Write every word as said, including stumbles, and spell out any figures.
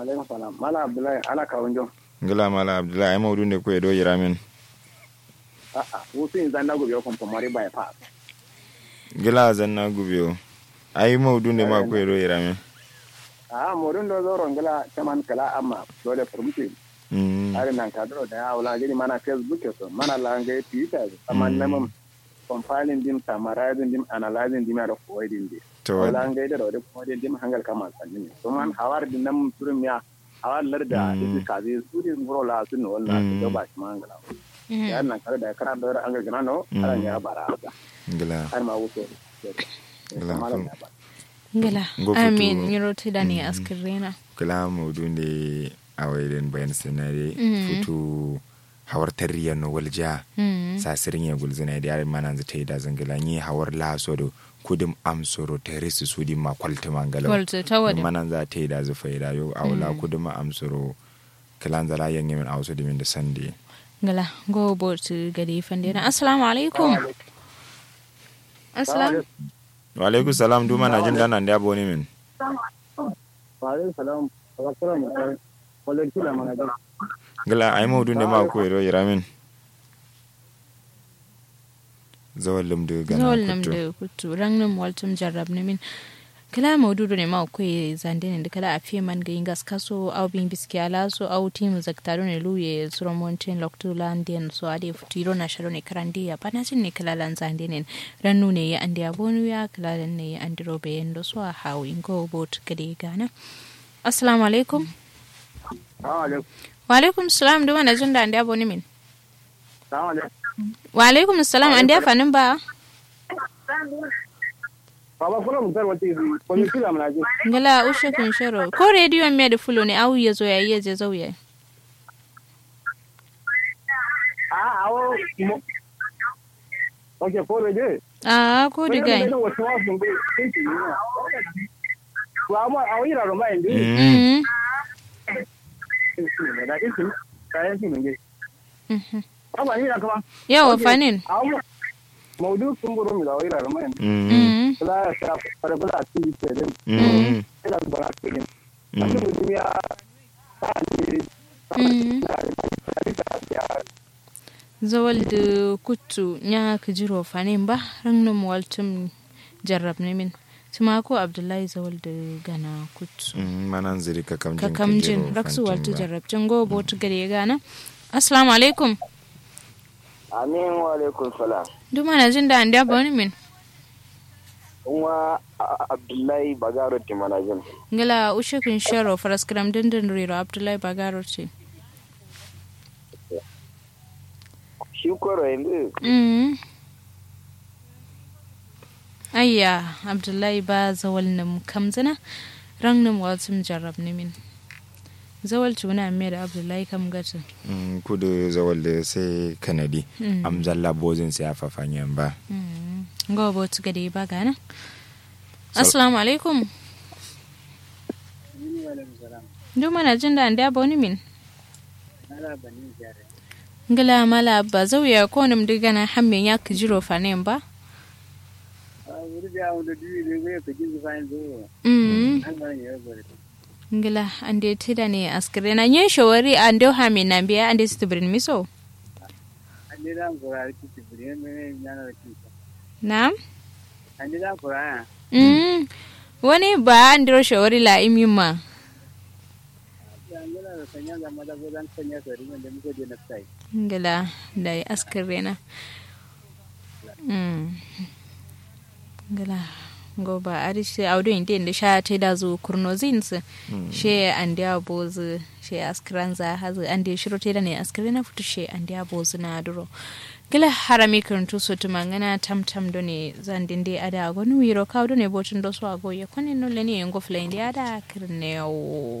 Alaikum salam. Mala Abdullahi, ala kawunjo. Ngla mala Abdullahi, ai maudu nde kuye do yiramin. A'a, wusu yin zanna gubiyo kumfumori bypass. Ngla zanna gubiyo. Ai maudu nde ma kuye do yiramin. A'a, maudu ndo zoro ngla caman kala amma dole furumti. Ari nan kadro da ya wala gidi mana Facebook so mana la ngai Twitter so amma namun compiling dim summarizing dim analyzing dim ya da koyi dim de. To wala ngai da da koyi dim hangal kama sanni. To man hawar din nan turum ya hawar larda isi kazi su din guro la sun wala su da ba shi mangala. Ya nan kadro da kara da an ga gana no aran ya bara. Ngla. Har ma wuto. Ngla. Ngla. Amin nyiro ti da ne askirena. Kla maudu nde awai den bayan sinade futu hawar tarriya no walja. Sasirin ye gulzina de yarin mananzu taida zangila nyi hawar laso do kudum amsoro terisi sudin ma kwaltuma ngala kwaltu tawadin mananza taida zu faida yo awla kudum amsoro. Kilanza la yange min awso dimin da sande. Ngala go botu gade fande na assalamu alaikum. Assalamu. Wa alaikum salam duma na jin dana nda boni min. Wa alaikum salam. Wa alaikum salam. Ngla ai maudu nde ma kuye do yiramin. Zawal lumdu gana zawal lumdu kuttu rangnum waltum jarrab numin. Kla maudu do ne ma kuye zande ne kla afiye man ga ingas kaso au bin biski alaso au timu zakta do ne luye suro monten loktu landen so ade futu iro na sharo ne karande ya bana jin ne kla lan zande ne. Rannu ne ya ande abonu ya kla lan ne ya andiro be yendo so a hawi ngo bot gade gana. Assalamu alaikum. Wa alaikum salam duma na jin da ande abonu min. Wa alaikum salam ande afanin ba. Baba kula mun tarwa ti ko mi kula mun aje. Ngala ushe kun shero ko radio me da fulo ne au ya zo ya iya je zauya. A awo. Ok ko radio. A ko digai. Wa ma awo ira ro ma indi. Mm. Da isi. Ka isi mun ge. Yawa fanin. Maudu kumburu mi da wai rarama yanzu. Kula ya sha fara kula a cikin tsaye din. Kula da bara tsaye din. Zawal da kuttu nya kajiro fanin ba rangnum waltum. Jarrab nimin. Tumako abdullahi zawal da gana kut. Manan ziri kakamjin raksu waltu jarrabcin go botu gade gana. Assalamu alaikum. Amin wa alaikum salam. Duma na jin da an da boni min. Nwa abdullahi bagaro ti mana jin. Ngala ushe kun shero faraskram dindin riro abdullahi bagaro ti. Shi koro yanzu. Ayya abdullahi ba zawal num kamzina. Rang num walsum jarrab numin. Zawal cuna me da abdullahi kam gatu. Kudu zawal da sai kanadi. Am zalla bozin sai afafanyen ba. Ngo botu gade ba gana. Assalamu alaikum. Ndu mana jin da ande aboni min. Ngla mala abba zauya konum dǝ gana hamme nya kǝjiro fanen ba. Ngla ande tǝdane askǝrena nye shawari ande hamme nambiya ande sǝtǝbǝrin miso. Naam. Wani ba andiro shawari la imimma. Ngla dai askǝrena. Ngla ngo ba adǝ shi audo inde inde sha taidazu kurnozin sǝ. She andeya bozǝ she askǝranza hazǝ ande shiro taidane askǝrena futu she andeya bozǝ na duro. Ngla harami kǝrǝntu so tǝmangǝna tamtam done zandinde adǝ ago nuwiro kawu done botun doso ago ye kone nolene ye ngo fǝlainde adǝ a kǝrǝne wo.